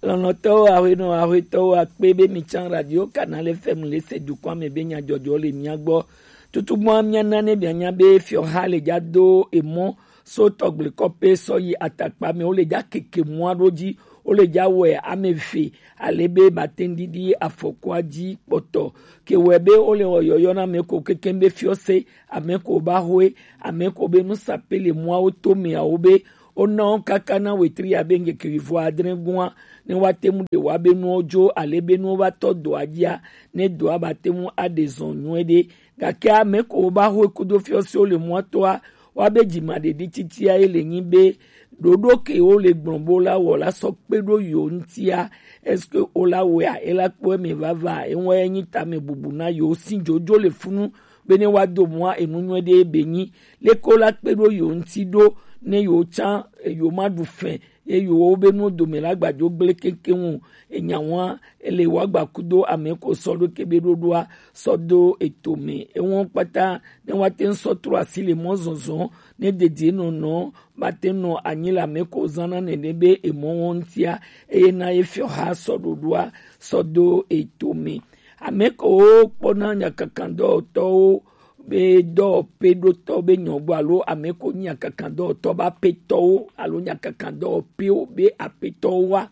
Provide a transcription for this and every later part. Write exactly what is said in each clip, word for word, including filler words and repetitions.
Lɔlɔ̃tɔwo, aƒenɔ, aƒetɔwo, akpe be mi tsã Radio Canal F M le se dukɔa me be nyadzɔdzɔ le mia gbɔ. Tutugbɔa mia na ne mia nya be fiɔha le dza do emɔ so tɔgble kɔpe sɔ yi atakpa me, wo le dza keke mɔa ɖo dzi, wo le dza wɛ ame eve, ale be ba te ŋ ɖiɖi afɔkua dzi kpɔtɔ. Ke wɛ be wo le wɔ yɔyɔ na ame ko kekeŋ be fiɔse, ame ko ba hoe, ame ko be nusape le mɔawo to meawo be wo na wo kaka na wetri ya be ŋkeke wuivo adre gua, ne woate ŋu ɖe woa be nuwo dzo, ale be nuwo va tɔ dɔa dzia, ne dɔa ba te ŋu aɖe zɔ nyuie ɖe. Gake ame ko wo ba hoe kudo fiɔsewo le mɔa toa, woa be dzimaɖeɖi titia ye le nyi be ɖoɖo ke wo le gblɔ bo la wɔ la sɔ kpe ɖo yo ŋutia, est-ce que wo la wɔea, e la kpɔ eme vava, eŋua ye nyi tame bubu na yo si dzodzo le funu, be ne woado mɔa enu nyuie ɖe be nyi. Leke wo la kpe ɖo yo ŋuti ɖo ne yo tsã yo ma ɖu fɛ ye yo wo be nuwo dome la gbadzo gble kekeŋ o. Enya wa ele wa gba kudo ame ko sɔ ɖo ke be ɖoɖoa sɔ do eto me. Ewo kpata ne wa te ŋ sɔ trɔ asi le mɔ zɔzɔ ne dedie nɔnɔ ba te nɔ anyi le ame ko zana nene be emɔ wo ŋutia, eye na ye fiɔ ha sɔ ɖoɖoa sɔ do eto me. Ame ko wo kpɔna nyakakandɔwɔtɔwo be dɔwɔƒeɖotɔ be nyɔgbɔ alo ame ko nyi nyakakandɔwɔtɔ be aƒetɔwo alo nyakakandɔwɔƒewo be aƒetɔwo wa.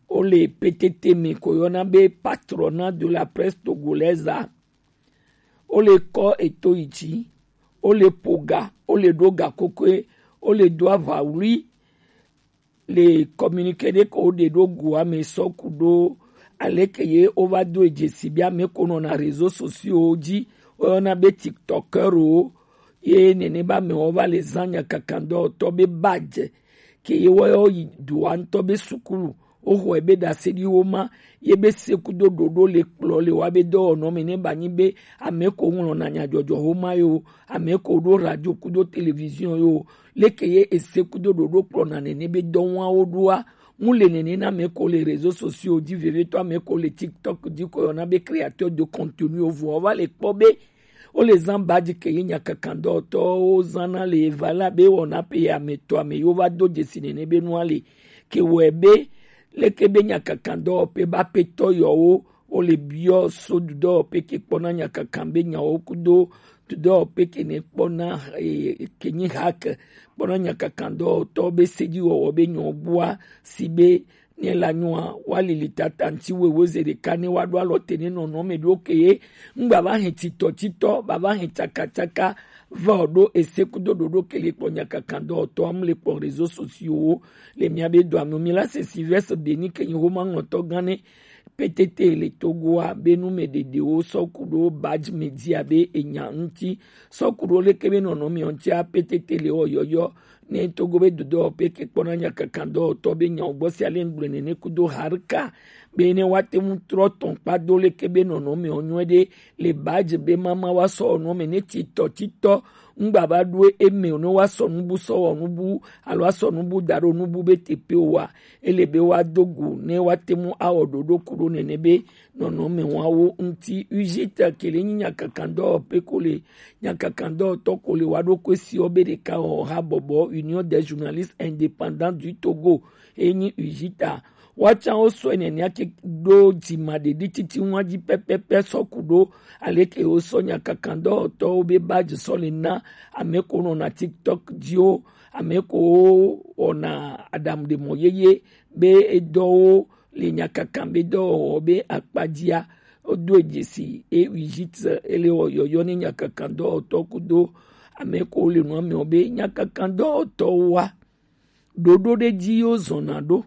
Wo le P T T me ko yɔna be Patronat de la Presse Togolaise a. Wo le kɔ eto yi dzi, wo le ƒo ga, wo le ɖo ga kokoe, wo le do aʋawlui. Le communiqué ɖe ko woɖe ɖo goa me sɔ ku ɖo aleke ye wova do dzesi be ame ko nɔna réseaux sociaux dzi, woyɔna be TikTokeur wo, ye nene be amewo va le zã nyakakandɔwɔtɔ be badge ke ye woyɔ yi dua ŋutɔ be sukulu, woxɔe be ɖaseɖiwo ma, ye be se kudo ɖoɖo le kplɔ le wa be dɔwɔnɔ me ne ba nyi be ame ko ŋlɔna nyadzɔdzɔ xoma yo, ame ko ɖo radio kudo télévision yo, leke ye ese kudo ɖoɖo kplɔna nene be dɔwawo ɖoa, mu le nene na ame ko le réseaux sociaux dzi, vevietɔ ame ko le TikTok dzi ko yɔna be créateur de contenu o, vɔ va le kpɔ be wo le zã badge ke ye nyakakandɔwɔtɔwo zãna le eva la be wɔna pe ame tɔ ame yiwo va do dzesi nene be nua le ke wɔe be leke be nyakakandɔwɔƒe be aƒetɔ yɔwo wo le biɔ so dudɔwɔƒe ke kpɔna nyakakan be nyawo kudo dudɔwɔƒe ke ne kpɔna, eh, ke nyi hake kpɔna nyakakandɔwɔtɔ be sedziwɔwɔ be nyɔ gbua si be ne la nyɔa wa lili tata ŋti wewe ze ɖeka ne wa ɖo alɔ te ne nɔnɔ me ɖo ke ye ŋgba va hɛn titɔ titɔ ba va hɛn tsaka tsaka va o ɖo ese kudo ɖoɖo ke le kpɔ nyakakandɔwɔtɔ am le kpɔ réseaux sociaux wo le mia be dɔa me mi la se Sylvestre Denis ke nyi xoma ŋlɔtɔ gã ne P T T le Togoa be nu me ɖeɖewo sɔ ku ɖo badge me dzia be enya ŋti sɔ ku ɖo leke be nɔnɔ me ŋtia P T T le wɔ yɔyɔ ne Togo be dodɔwɔƒe ke kpɔna nyakakandɔwɔtɔ be nyawo gbɔ sia le ŋgblɔe nene kudo harika be ne woate ŋu trɔ tɔn kpa do leke be nɔnɔ me ɔnyɔe ɖe le badge be mama wa sɔ ɔnɔ me ne titɔ titɔ ŋgba va ɖo eme ne wa sɔ nubu sɔ wɔ nubu alo asɔ nubu da ɖo nubu be teƒe wa ele be wa do go ne wa te ŋu awɔ ɖoɖo ku ɖo nene be nɔnɔme wawo ŋti. Ujita ke le nyi nyakakandɔwɔƒe ko le nyakakandɔwɔtɔ ko le wa ɖo ko esi wo be ɖeka wɔ ha bɔbɔ Union des journalistes indépendants du Togo e nyi Ujita. Woatsã wo sɔe nɛnɛa ke ɖo dzimaɖeɖi titi ŋua dzi pɛpɛpɛ sɔ ku ɖo aleke wo sɔ nyakakandɔwɔtɔwo be badge sɔ le na ame ko nɔna TikTok dzi wo, ame ko wɔna aɖaŋuɖemɔ yeye be edɔwo le nyakakan be dɔwɔwɔ be akpa dzia, wodo dzesi e Ujita ele wɔ yɔyɔ ne nyakakandɔwɔtɔ kudo ame ko le nua me be nyakakandɔwɔtɔwoa ɖoɖo ɖe dzi wo zɔna ɖo,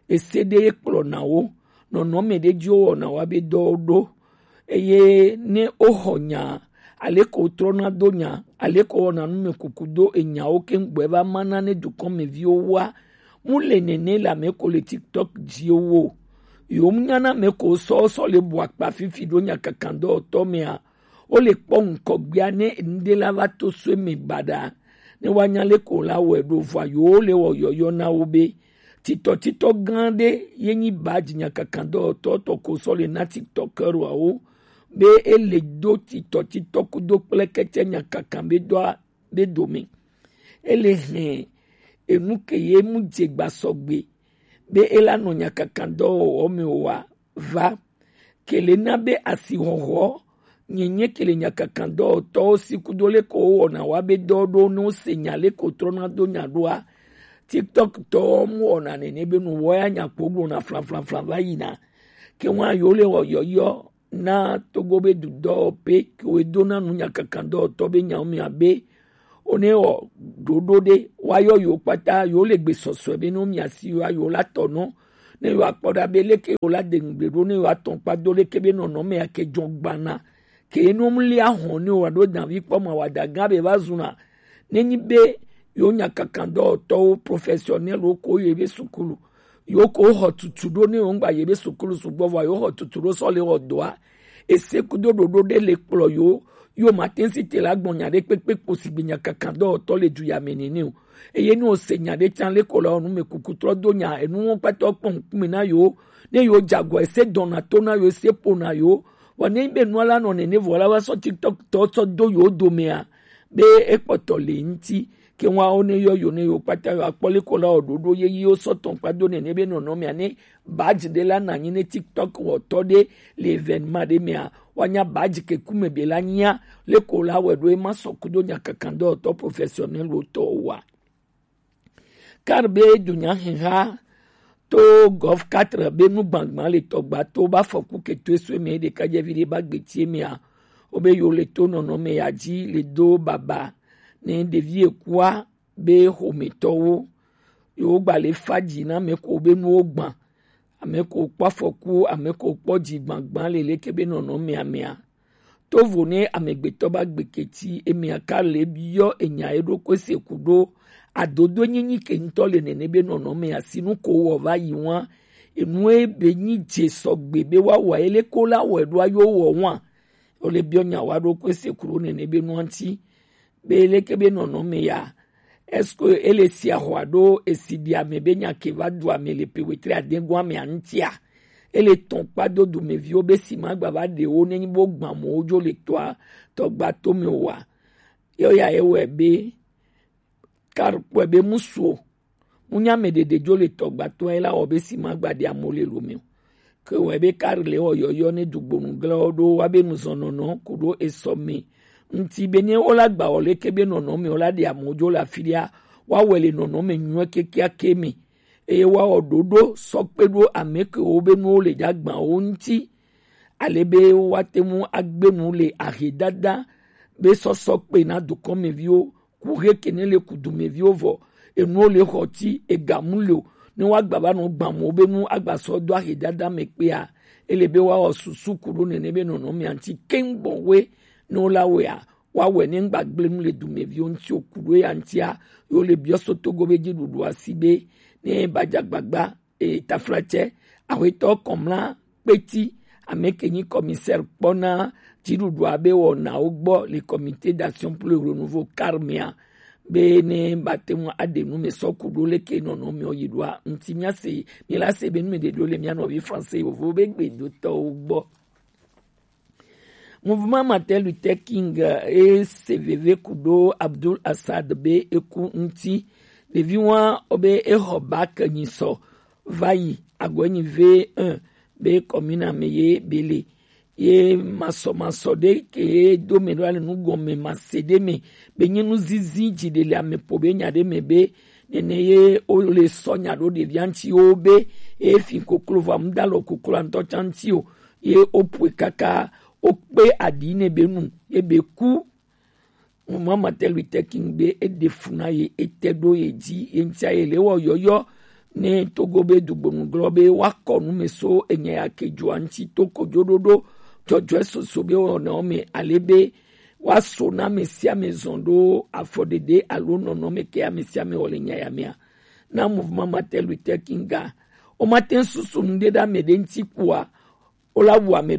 ese ɖe ye kplɔna wo, nɔnɔme ɖe dzi wo wɔna wa be dɔwo ɖo, eye ne wo xɔ nya aleke wo trɔna do nya aleke wo wɔna nu me kuku do enyawo ke ŋgbɔe va mana ne dukɔmeviwo wa mu le nene le ame ko le TikTok dzi wo. Yo mu nyana ame ko sɔ sɔ le bu akpa fifi ɖo nyakakandɔwɔtɔ mea wo le kpɔ ŋkɔgbea ne ŋɖe la va to so eme baɖa ne woanya leke wo la wɔe ɖo vɔa yewo le wɔ yɔyɔ na wo be titɔtitɔ gã ɖe ye nyi badge nyakakandɔwɔtɔ tɔ ko sɔ le na TikTokeuroawo be ele do titɔtitɔ kudo kple kɛtsɛ nyakakan be dɔa be dome. Ele hɛn enu ke ye mu dze gba sɔgbe be e la nɔ nyakakandɔwɔwɔ me o wa va. Kele na be asixɔxɔ nyenye kele nyakakandɔwɔtɔwo si kudo leke wowɔna wa be dɔ ɖo ne wose nya leke wotrɔna do nya ɖoa. TikTok tɔwo mu wɔna nene be nu wɔ ya nya kpo gblɔna flanflanflan va yina. Ke wa yewo le wɔ yɔyɔ na Togo be dudɔ pe ke wo do na nu nyakakandɔwɔtɔ be nyawo mia be o ne wɔ ɖoɖo ɖe wa yɔ yewo kpata yewo le gbe sɔsɔe be no mia si yewo yewo la tɔ nɔ ne yewo akpɔ ɖa be leke yewo la de ŋugble ɖo ne yewo atɔ kpa do leke be nɔnɔme ya ke jɔ gbana ke no mu li ahɔn ne yewo ɖo davi kpɔ ma wa da gã be va zuna ne nyi be yewo nyakakandɔwɔtɔwo professionnel wo ko ye be sukulu yewo ko xɔ tutu ɖo ne yewo ŋgba ye be sukulu sugbɔ vɔ yewo xɔ tutu ɖo sɔ le wɔ dɔa. Ese kudo ɖoɖo ɖe le kplɔ yewo yewo ma te si te la gbɔn nya ɖe kpekpe kpo si gbe nyakakandɔwɔtɔ le du ya me nene o. Eye ne wose nya ɖe tsan le ko la wɔ nu me kuku trɔ do nya enu wɔn kpata kpɔ ŋkume na yewo ne yewo dze agɔ ese dɔna to na yewo ese ƒo na yewo. Vɔ ne be nua la nɔ nene vɔ la va sɔ TikTok tɔ sɔ do yewo domea be ekpɔtɔ le ŋuti ke wa wo ne yɔ yo ne yo kpata yo akpɔ le ko la o ɖoɖo ye yi wo sɔ tɔn kpa do nene be nɔnɔ mea ne badge ɖe la na nyi ne TikTok wɔtɔ ɖe le événement ɖe mea wa nya badge ke kume be la nyia le ko la wɛ ɖo e ma sɔ kudo nyakakandɔwɔtɔ professionnel wo tɔ wa. Kar be dunya heha to Golf quatre be nu gbangban le tɔgba to ba fɔku ke to eso me ɖeka dze vi ɖe ba gbeti mea wo be yo le to nɔnɔ me ya dzi le do baba ne ɖevi ekua be xometɔwo yewo gba le fa dzi na ame ko be nuwo gbã ame ko kpɔ afɔku ame ko kpɔ dzi gbangban le leke be nɔnɔ mea mea. Tovo ne amegbetɔ ba gbeketi emea ka le biɔ enya eɖokui se ku ɖo adodo nyinyi ke ŋutɔ le nene be nɔnɔ mea si nu ko wɔ va yi wa enu ebe nyi dze sɔgbe be wa wɔ ele ko la wɔ eɖo ayo wɔ wa o le biɔ nya wa ɖokui se ku ɖo nene be nua ŋuti be leke be nɔnɔme ya est-ce que ele si axɔ alo esi ɖi ame be nya ke va du ame le pe wetri adegoa me aŋtia ele tɔn kpa do dumeviwo be si ma gba va ɖe wo ne nyi bo gbã mo wo dzo le tɔa tɔgba to me wa. Yɔ ya ye wɛ be kar kpɔe be musuo Mu nya ame ɖeɖe dzo le tɔgbatɔa ye la wɔ be si ma gba ɖe amo le lo me o. Ke wɔ be kar le wɔ yɔyɔ ne dugbonu gla wo ɖo wa be nuzɔnɔnɔ ku ɖo esɔ me. Ŋti be ne wo la gba wɔ leke be nɔnɔ me wo la ɖe amo dzo le afi ɖea wa wɔ le nɔnɔ me nyuɛ kekeake me. Eye wa wɔ ɖoɖo sɔ kpe ɖo ame ke wo be nuwo le dza gbã wo ŋti. Ale be wa te ŋu agbe nu le ahedada be sɔsɔ kpe na dukɔmeviwo ku he ke ne le ku dumeviwo vɔ enuwo le xɔ ti ega mu le o ne wa gba va nɔ gbã mo be nu agba sɔ do ahe dada me kpea ele be wa wɔ susu ku ɖo nene be nɔnɔ mia ŋti keŋ gbɔn we ne wo la wea wa wɛ ne ŋgba gble nu le dumeviwo ŋti o ku ɖo ya ŋtia yo le biɔ so togo be dzi ɖuɖu asi be ne ba dza gbagba e, taflatse, awetɔ kɔmla kpeti, ame ke nyi commissaire kpɔna dziɖuɖua be wɔnawo gbɔ le comité d'action pour le renouveau karmea be ne bate ŋu aɖe nu me sɔ ku ɖo leke nɔnɔ me yi ɖoa ŋti mia se mi la se be nu me ɖe ɖo le mia nɔvi français yovo be gbedotɔwo gbɔ. Mouvement Martin Luther King e se veve ku ɖo Abdul Assad be eku ŋti. Ɖevi wa o be exɔ bac nyi sɔ va yi agɔe nyi V un be commune ame ye be le ye masɔmasɔ ɖe ke ye do me ɖo ale nu gɔme ma se ɖe me be nyi nu zizi dzi ɖe le ame po be nya ɖe me be nene ye o le sɔ nya ɖo ɖevia ŋti wo be e fi koklo va mu da lɔ koklo ŋtɔ tsa ŋti o ye o pue kaka o kpe aɖi ne be nu ye be ku. Mama Martin Luther King be e ɖe fu na ye e te ɖo ye dzi ye ŋtia ye le wɔ yɔyɔ ne togo be dugbonu glɔ be wa kɔ nu me so enya ya ke dzoa ŋti to kojo ɖoɖo dzɔdzɔe soso be wɔna wo me ale be wa so na ame sia ame zɔn ɖo afɔɖeɖe alo nɔnɔ me ke ame sia ame wɔ le nya ya mea. Na mouvement Martin Luther King ga o ma te susu nu ɖe ɖe ame ɖe ŋti kpoa o la wu ame